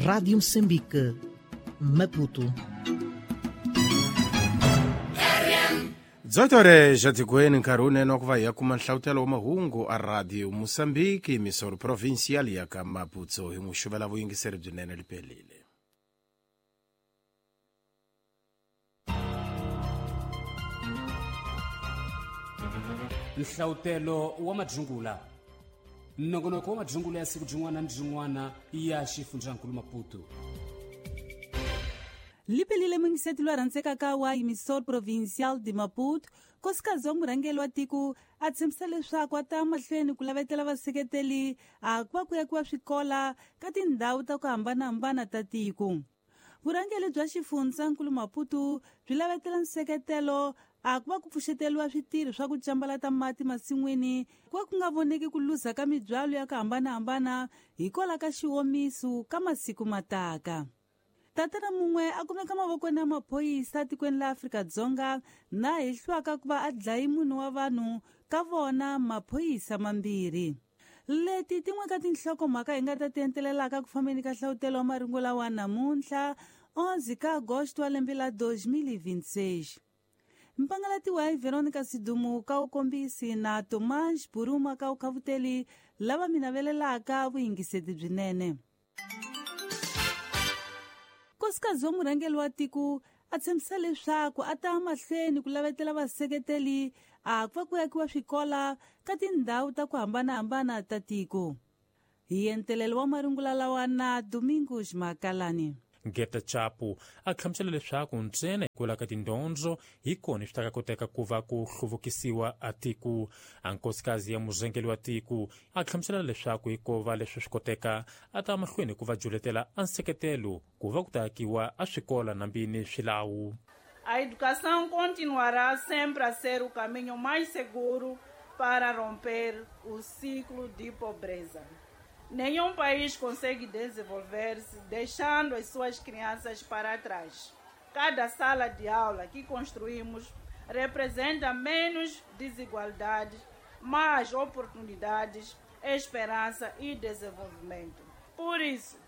Rádio Moçambique, Maputo. 18 horas tikweni nkarhi wunene wa ku va hi ya kuma nhlavutelo wa mahungu a radio Moçambique misoro provincial ya ka Maputo hi n'wi xuvela vuyingiseri byinene liphelile. Nhlavutelo wa madzungula, nongonoko wa madzungula ya siku byin'wana ni byin'wana ya xifundzankulu Maputo. Liphelile mungisethi lwa rhandzekaka wa Emissor Provincial de Maputo, nkosikazi wa murhangeri wa tiko a tshembisa leswaku a ta mahlweni ku lavetela vaseketeli a ku va ku yakiwa swikola ka tindhawu ta ku hambanahambana ta tiko. Vurhangeri bya xifundzankulu Maputo byi lavetela nseketelo a ku va ku pfuxeteriwa switirho swa ku cambalata mati masin'wini ku va ku nga voneki ku luza ka mibyalo ya ku hambanahambana hikwalaho ka xiwomiso ka masiku mataka. Tatana mun'we a kumeka mavokweni ya maphorisa tikweni la Afrika-Dzonga na hehliwaka ku va a dlayi munhu wa vanhu ka vona maphorisa mambirhi. Leti tin'we ka tinhlokomhaka hi nga ta ti entelelaka ku fambeni ka hlavutelo wa marungu lawa namuntlha 11 ka Agosto wa lembe la 2026. Mpangalatiwa hi Veronica Sidumu ka ukombisi na Tomás Buruma ka ukhavuteli lava mi navelelaka vuyingiseti byinene. Nkosikazi wa murhangeri wa tiko a tshembisa leswaku a ta mahlweni ku lavetela vaseketeli a ku va ku yakiwa swikola ka tindhawu ta ku hambanahambana ta tiko. Hi entelelo wa marungula lawa na Domingos Makalani. Geta Chapo a hlamusela leswaku ntsena hi kula ka tindyondzo hi kona swi ta ka koteka ku va ku hluvukisiwa a tiko. A nkosikazi ya murhangeri wa tiko a hlamusela leswaku hikuva leswi swi koteka a ta mahlweni ku va juletela a nseketelo ku va ku ta akiwa a swikola nambini swilawu. A educação continuará sempre a ser o caminho mais seguro para romper o ciclo de pobreza. Nenhum país consegue desenvolver-se deixando as suas crianças para trás. Cada sala de aula que construímos representa menos desigualdades, mais oportunidades, esperança e desenvolvimento. Por isso,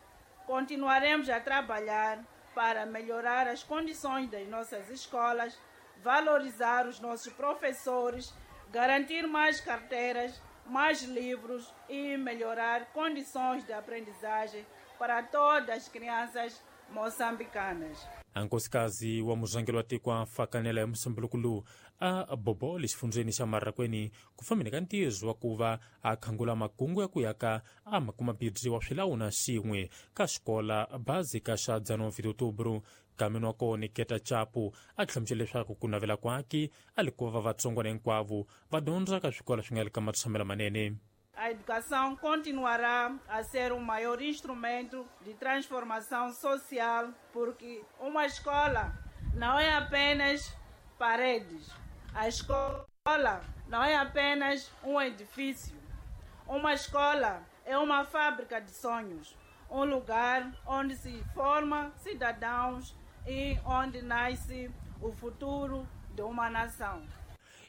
continuaremos a trabalhar para melhorar as condições das nossas escolas, valorizar os nossos professores, garantir mais carteiras, mais livros e melhorar condições de aprendizagem para todas as crianças moçambicanas. A nkosikazi wa murhangeri wa tiko a fakanela ya musumbuluku a bobole xifundzeni xa Marrakweni ku fambeni ka ntirho wa ku va a khangula makungu ya ku yaka a makumabibyi wa swilawu na xin'we ka xikola bazika xa 19 Outubro. Kameni wa kona Geta Chapo a hlamusela leswaku ku navela kwake a li ku va vatsongwana hinkwavo va dyondza ka swikolo swi nga le ka matshamelo manene. A educação continuará a ser o maior instrumento de transformação social, porque uma escola não é apenas paredes. A escola não é apenas um edifício. Uma escola é uma fábrica de sonhos, um lugar onde se forma cidadãos e onde nasce o futuro de uma nação.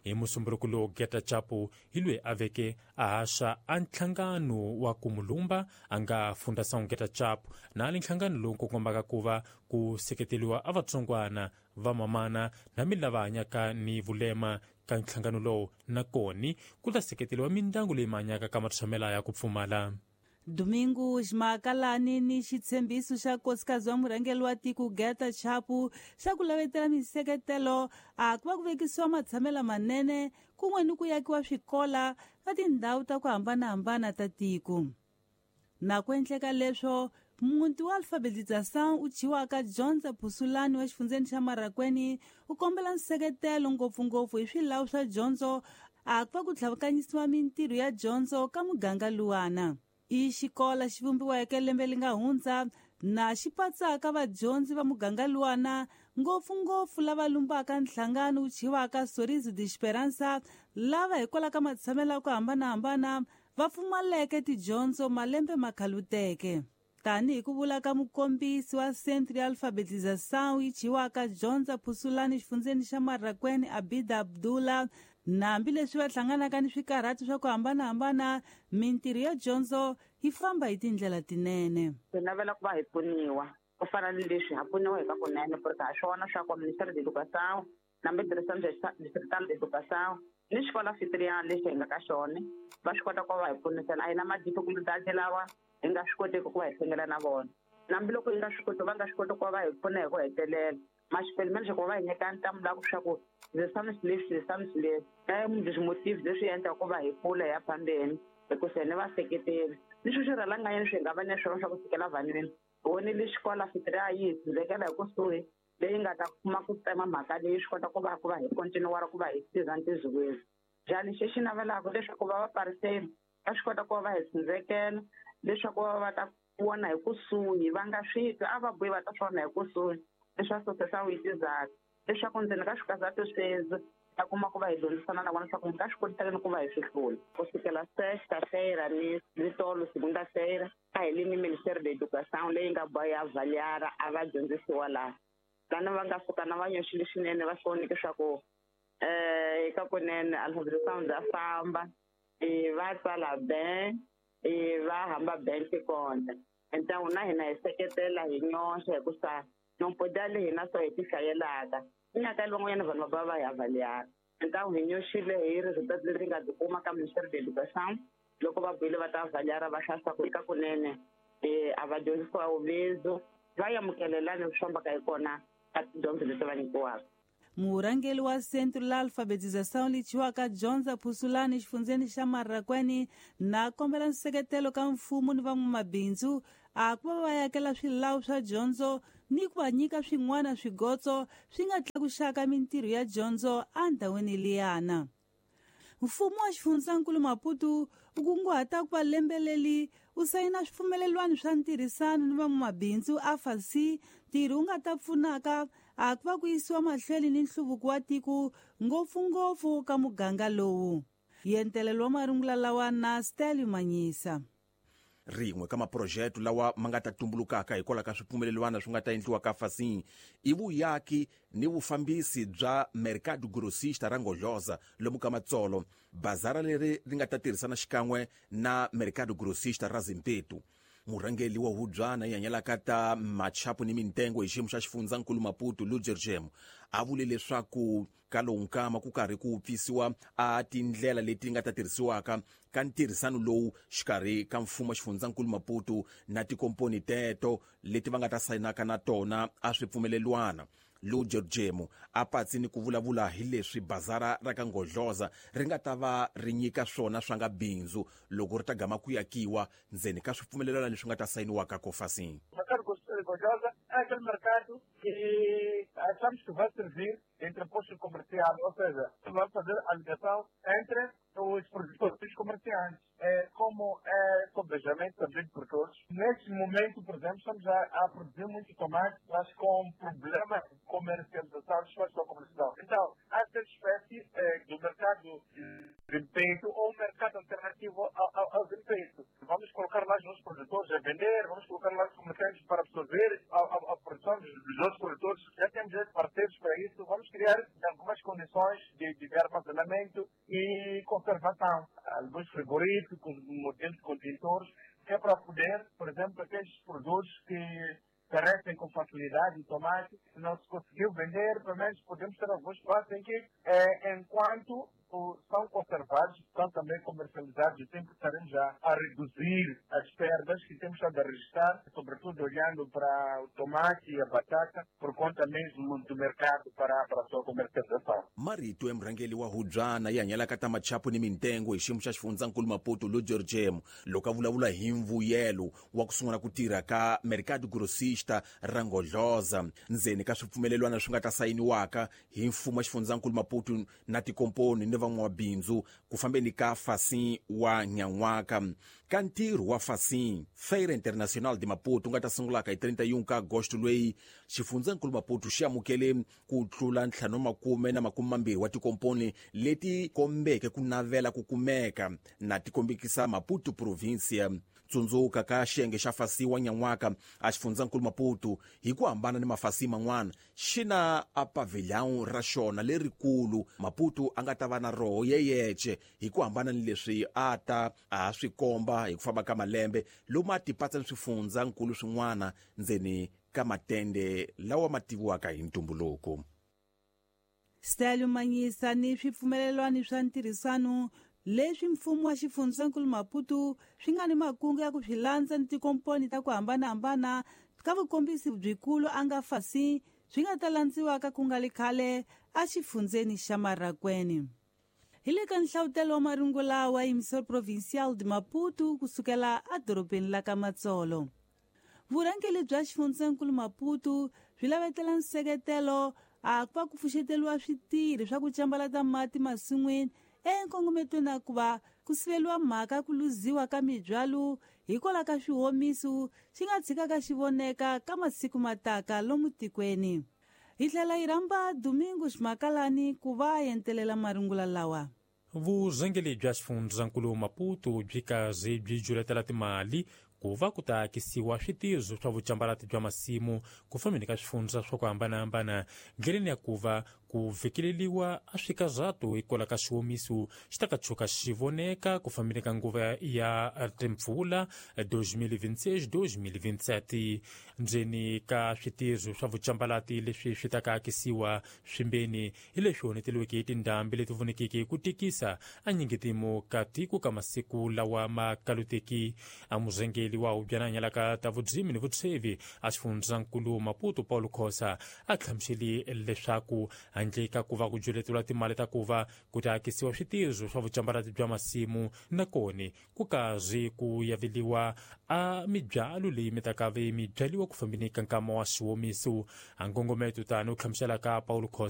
Hi musumbuluku lowu Geta Chapo hi loyi a veke a haxa a nhlangano wa kumulumba a nga Fundação Geta Chapo na ali nhlangano lowu kombaka ku va ku seketeriwa a vatsongwana va mamana na mi lava hanyaka ni vulema ka nhlangano lowu na koni ku ta seketeriwa mindyangu leyi hanyaka ka matshamela ya ku pfumala. Domingos Makalani ni xitshembiso xa nkosikazi wa murhangeri wa tiko Geta Chapo xa ku lavetela minseketelo a ku va ku vekisiwa matshamelo manene kun'we ni ku yakiwa swikola ka tindhawu ta ku hambanahambana ta tiko. Na ku endleka leswo, muti wa alfabetização u thyiwaka Dyondza Phusulani wa xifundzeni xa Marrakweni u kombela nseketelo ngopfungopfu hi swilawu swa dyondzo a ku va ku tlhavukanyisiwa mintirho ya dyondzo ka muganga luwana. I xikola xi vumbiweke lembe li nga hundza na xi patsaka vadyondzi va muganga luwana ngopfungopfu lava lumbaka nhlangano wu thyiwaka Sorriso de Esperança lava hikwalaho ka matshamelo ya ku hambanahambana va pfumaleke tidyondzo malembe ma khaluteke. Tanihi ku vula ka mukombisi wa Centro ya Alfabetização yi thyiwaka Dyondza Phusulani xifundzeni xa Marrakweni Abida Abdullah Na hambileswi va hlanganaka ni swikarhati swa ku hambanahambana, mintirho ya dyondzo yi famba hi tindlela tinene. Hi navela ku va hi pfuniwa ku fana ni leswi ha pfuniwa hi ka kunene porque ha swona swa ku Ministério de Educação na Direção Distrital de Educação ni xikolo anfitriana lexi hi nga ka xona va swi kota ku va hi pfunisela. A hi na ma-difficulties lawa hi nga swi koteki ku va hi hlengela na vona, hambiloko hi nga swi koti va nga swi koti ku va hi pfuna hi ku hetelela maxipelmeni ku va hi nyika ntamu la ku swa ku leswi leswi motives leswi endlaka ku va hi pfula hi ya phambeni hikusa ni vaseketeli ni swi swirhalanganyeni swi nga va ni swona swa ku fikela vanhwini vonile xikolo anfitriana yi hi tshundzekela hi kusuhi leyi nga ta kuma ku tsema mhaka leyi swi kota ku va hi continuara ku va hi tirha ntirho njhani xexi navelaka leswaku va va pariseni va swi kota ku va hi tshundzekela leswaku va ta vona hi kusuhi va nga swi twi a va buyi va ta swi vona hi kusuhi leswaku swa witizaka leswaku ndzeni ka swikazatu sweswi ta kuma ku va hi dyondzisana na vona leswaku hi nga swi kotisa ku va hi swi hlula. Ku sukela sexta-feira ni tolo segunda-feira a hi le ni Ministério da Educação leyi nga boha ya avaliara a va dyondzisiwa laha lana va nga fika na va nyoxile swinene va swi vonile leswaku eka kunene alfabetização bya famba va tsala ben va hamba ben kona então na hina hi seketela hi nyoxa hikusa nompoda le hina so hi ti hlayelaka nyaka van'wanyana vanhu va va hi avaliara então hi nyoxile hi resultat leri nga byi kuma ka Ministério da Educação loko va buile va ta avaliara va hlaya ku eka kunene a va dyondzisiwa uvezo va amukelelani swi fambaka hi kona ka tidyondzo leti va nyikiwaka. Murhangeri wa Centro la Alfabetização lichiwaka Dyondza Phusulani xifundzeni xa Marrakwani na kombela nseketelo ka mfumo ni van'wamabindzu a ku va va yakela swilawu swa dyondzo ni ku va nyika swin'wana swigotso swi nga tlakuxaka mintirho ya dyondzo endhawini liyana. Mfumo wa xifundzankulu Maputo u kunguhata ku va lembeleli u sayina swipfumelelwano swa ntirhisano ni van'wamabindzu AFAC ntirho wu nga ta pfunaka a ku va ku yisiwa mahlweni ni nhluvuko wa tiko ngopfungopfu ka muganga lowu. Yentelelo wa marungula lawa na Stelio Manyisa. Rin'we ka maphurojete lawa ma nga ta tumbulukaka hikwalaho ka swipfumelelwana swi nga ta endliwa ka FACI i vuyaki ni vufambisi bya Mercado Grossista ra Ngodloza lomu ka Matsolo, bazara leri ri nga ta tirhisana xikan'we na Mercado Grossista ra Zimpetu. Murhangeri wa hubyana yi hanyelaka ta machapu ni mintengo hi xiyimo xa xifundzankulu Maputo Lujer Jemo a vule leswaku ka lowu nkama ku karhi ku pfisiwa a tindlela leti nga ta tirhisiwaka ka ntirhisano lowu xikarhi ka mfumo wa xifundzankulu Maputo na tikomponi teto leti va nga ta sayinaka na tona a swipfumelelwana. Lujer Jemo a patsi ni ku vulavula hi leswi bazara ra ka Ngodloza ri nga ta va ri nyika swona swa nga bindzu loko ri ta gama ku yakiwa ndzeni ka swipfumelelwana leswi nga ta sayiniwaka ko FACI. Ngodloza é aquele mercado que achamos que vai servir entre postos comerciais, ou seja, vai fazer a ligação entre os produtores comerciantes. Como é sobejamento também por todos. Neste momento, por exemplo, estamos a produzir muito tomate, mas com problema de comercialização, de sua comercialização. Então, há essa espécie do mercado de desempenho ou um mercado alternativo ao desempenho. Vamos colocar lá os nossos produtores a vender, vamos colocar lá os comerciantes para absorver a produção dos outros produtores. Já temos parceiros para isso. Vamos criar algumas condições de armazenamento e conservação. Alguns frigoríficos, modelos contentores, que é para poder, por exemplo, aqueles produtos que perecem com facilidade, o tomate, não se conseguiu vender, pelo menos podemos ter alguns espaços em que, enquanto são conservados, são também comercializados e sempre estaremos já a reduzir as perdas que temos estado a registrar, sobretudo olhando para o tomate e a batata, por conta mesmo do mercado para a sua comercialização. Marito ya murhangeri wa hubyana yi hanyelaka ta machapu ni mintengo hi xiyimo xa xifundzankulu Maputo Lujer Jemo loko a vulavula hi mvuyelo wa ku sungula ku tirha ka Mercado Grossista ra Ngodloza ndzeni ka swipfumelelwana swi nga ta sayiniwaka hi mfumo wa xifundzankulu Maputo na tikomponi ni van'wamabindzu ku fambeni ka FACI wa nyan'waka. Ka ntirho wa FACI Feira Internacional de Maputo nga ta sungulaka hi 31 ka Agosto loyi xifundzankulu Maputo xi amukele ku tlula 520 wa tikomponi leti kombeke ku navela ku kumeka na tikombekisa Maputo provincia. Tsundzuka ka xiyenge xa fasi wa nyan'waka a xifundzankulu Maputo hi ku hambana ni mafasi man'wana xi na a pavilhão ra xona lerikulu. Maputo a nga ta va na roho yeyece hi ku hambana ni leswi a ta a swi komba hi ku famba ka malembe lomu a tipatsa ni swifundzankulu swin'wana ndzeni ka matende lawa ma tiviwaka hi ntumbuluko. Stelio Manyisa ni swipfumelelwano swa ntirhisano leswi mfumo wa xifundzankulu Maputo swi nga ni makungu ya ku swi landza ni tikomponi ta ku hambanahambana ka vukombisi byikulu a nga fasi swi nga ta landziwaka ku nga li khale a xifundzeni xa Marracuene. Hi le ka nhlavutelo wa marungula wa Emissor Provincial de Maputo kusukela edorobeni la ka Matsolo. Vurhangeri bya xifundzankulu Maputo byi lavetela nseketelo a ku va ku pfuxeteriwa switirhi swa ku cambalata mati masin'wini enkongometweni ya ku va ku siveliwa mhaka ku luziwa ka mibyalo hikwalaho ka swihomiso xi nga tshikaka xi voneka ka masiku mataka lomu tikweni. Hi tlhela hi rhamba Domingos Makalani ku va a entelela marungula lawa. Vurhangeri bya xifundzankulu Maputo byi kaze byi juletela timali ku va ku ta akisiwa switirho swa vucambalati bya masimu ku fambeni ka swifundza swa ku hambanahambana ndleleni ya ku va ku vhekeleliwa a swikazato hikwalaho ka xiwomiso xi ta ka tshuka xi voneka ku fambeni ka nguva ya timpfula 2026-2027. Ndzeni ka switirho swa vucambalati leswi swi ta ka akisiwa swimbeni hi leswi honeteliweke hi tindhambi leti vonekeke ku tikisa a nyingetimu ka tiko ka masiku lawa ma kaluteki. A murhangeri wa hubyananya ka ta vudzimi ni vutshwevi a xifundzankulu Maputo Paulo Khosa a hlamuseli leswaku handle ka ku va ku juleteriwa timali ta ku va ku ta akisiwa switirho swa vucambalati bya masimu na koni ku karhi ku yaveliwa a mibyalo leyi mi ta ka ve mi byaliwa ku fambeni ka nkama wa xiwomiso. A nkongometo tani u hlamuselaka Paulo Khosa.